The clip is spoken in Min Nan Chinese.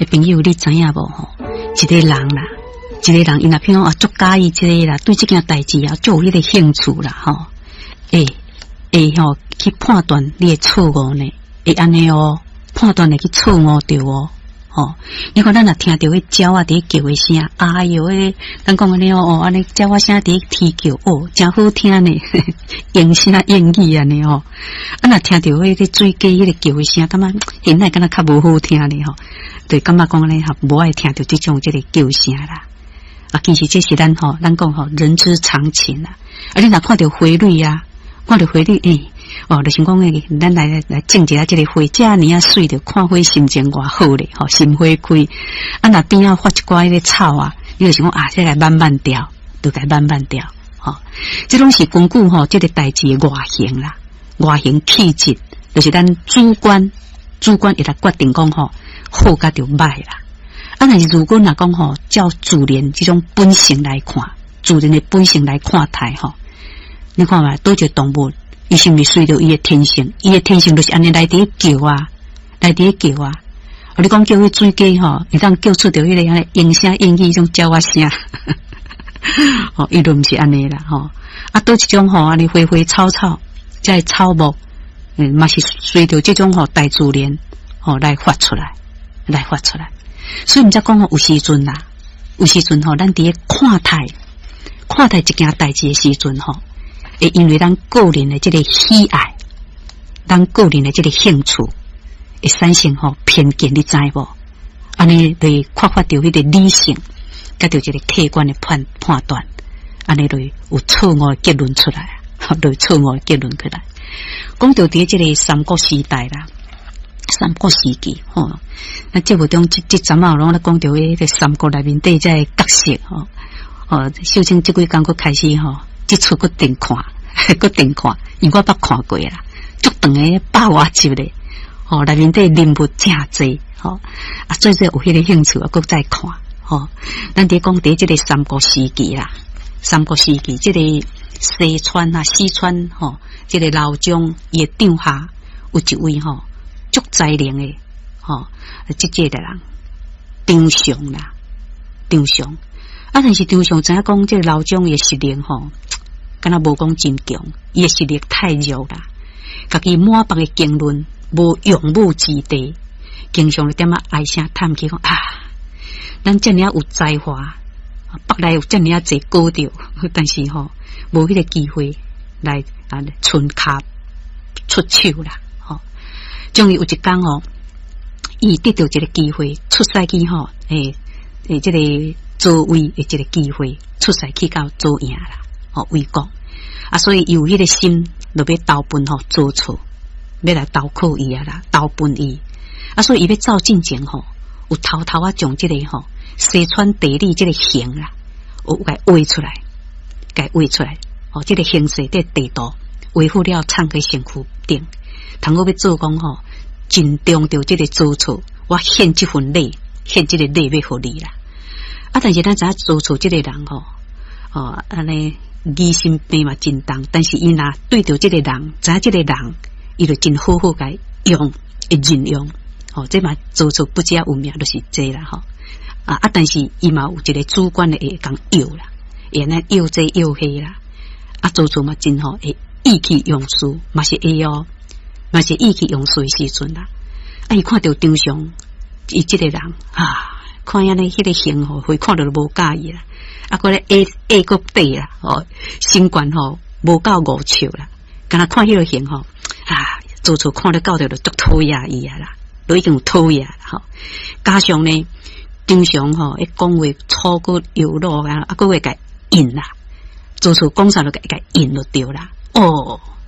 欸，朋友，你知影無吼？一个人啦，一个人，伊若譬如講啊，足佮意這个啦，對這件代誌啊，足有彼个興趣啦，吼，會會吼去判斷你的錯誤呢？會按呢哦，判斷會去錯誤著哦，吼！你看咱若聽著彼鳥仔佇咧叫的聲，哎喲喂，咱講按呢哦，按呢鳥仔聲佇咧啼叫，哦，誠好聽呢，應聲應語按呢吼。啊，若聽著彼個水雞彼個叫的聲，感覺現在敢若較無好聽呢吼，就感覺講按呢吼，無愛聽著這種這個叫聲啦。啊，其實這是咱吼，咱講吼，人之常情啦。啊，你若看著花蕊啊，看著花蕊，欸，哦，就是講欸，咱來來種一下這個花，遮爾仔媠，著看花心情偌好咧，吼，心花開。啊，若邊仔發一寡彼个草啊，你就想講啊，這個慢慢掉，就共慢慢掉，吼。這攏是根據吼這個代誌的外形啦，外形氣質，就是咱主觀，主觀會來決定講吼，好佮著歹啦。啊，但是如果若講吼，照自然這種本性來看，自然的本性來看待吼，你看覓，佗一個動物，伊是毋是隨著伊的天性？伊的天性就是按呢來佇咧叫啊，來佇咧叫啊。你講叫彼水雞吼，會當叫出著彼个按呢鶯聲鶯語彼種鳥仔聲，吼，伊就毋是按呢啦，吼。啊，佗一種吼，按呢花花草草，這个草木，嘛是隨著這種吼大自然吼來發出來，來發出來。所以毋才講吼，有時陣啦，有時陣吼，咱佇咧看待看待一件代誌的時陣吼，會因為咱個人的這个喜愛，咱個人的這个興趣，會產生吼偏見，你知無？按呢就會缺乏著彼个理性，佮著一个客觀的判判斷，按呢就會有錯誤的結論出來，就會錯誤的結論出來。講著佇這个三國時代啦，三國時期吼，那節目中這這陣仔攏咧講著彼个三國內面底這个角色吼，哦，秀清這幾工閣開始吼，這齣閣重看，閣重看，因為我捌看過啦，足長的百外集咧，吼，內面底人物誠濟，吼，啊，做做有彼個興趣啊，閣再看，吼，咱佇講佇這个三國時期啦，三國時期這个西川啊，四川吼，這个劉璋伊的帳下有一位吼，足才能的，吼，這這个人張尚啦，張尚啊，但是張尚知影講，這个劉璋的實力吼，敢若無講真強，伊的實力太弱啦，家己滿腹的經綸，無用武之地，經常咧踮仔唉聲嘆氣講啊，咱遮爾仔有才華，腹內有遮爾仔濟果著，但是吼，無彼个機會來啊，伸跤出手啦。終於有一工吼，伊得著一个機會出使去吼，欸欸，這個曹魏的一个機會出使去到曹營啦，吼魏國啊，所以伊有彼个心，就欲投奔吼曹操，欲來投靠伊啊啦，投奔伊啊，所以伊欲走進前吼，有偷偷仔將這個吼西川地理這個形啦，有共畫出來，共畫出來，吼，這个形勢這個地圖畫好了，藏佇身軀頂。通好欲做講吼，盡忠著這个曹操，我獻這份禮，獻這个禮欲予你啦。啊，但是咱知影曹操這个人吼，哦，按呢疑心病嘛真重，但是伊若對著這个人，知影這个人，伊就真好好共用，會任用。吼，這嘛曹操不只有名，就是這啦吼。啊啊，但是伊嘛有一个主觀的會共用啦，會按呢用這用彼啦。啊，曹操嘛真好，會意氣用事，嘛是會哦。嘛是意氣用事的時陣啦，啊！伊看著張尚，伊這个人啊，看按呢彼个形吼，會看著就無佮意啦。啊，閣咧矮矮閣短啦，吼，身懸吼無夠五尺啦。敢若看彼个形吼，啊，曹操看咧到著就足討厭伊啊啦，都已經有討厭啦吼。加上呢，張尚吼，伊講話粗閣幼魯啊，啊，閣會共應啦。曹操講啥就共應就對啦。哦。